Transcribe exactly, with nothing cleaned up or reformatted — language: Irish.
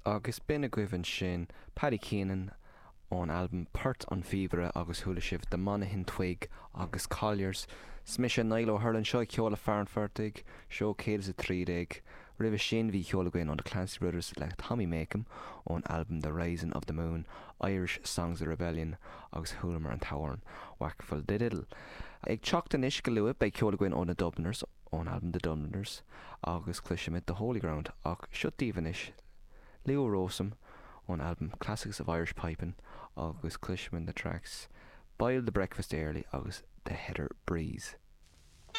Agus b'in agaibh ansin Paddy Keenan ón albam Port an Phíobaire agus chuala sibh The Monaghan Twig agus Colliers. 'S mise Niall Ó hUrlain seo ceol le fear an phortaigh, seó céad is a trí déag. Roimhe sin bhí ceol againn ó The Clancy Brothers le Tommy Makem ón albam The Rising of the Moon, Irish Songs of Rebellion agus chualamar an t-amhrán Whackful Diddle. Ag teacht anois go luath beidh ceol againn ó na Dubliners ón albam The Dubliners agus cloisfimid The Holy Ground ach seo daoibh anois Leo Rowsome ón albam Classics of Irish Piping agus cloisfimid na tracks Boil the Breakfast Early agus The Heather Breeze.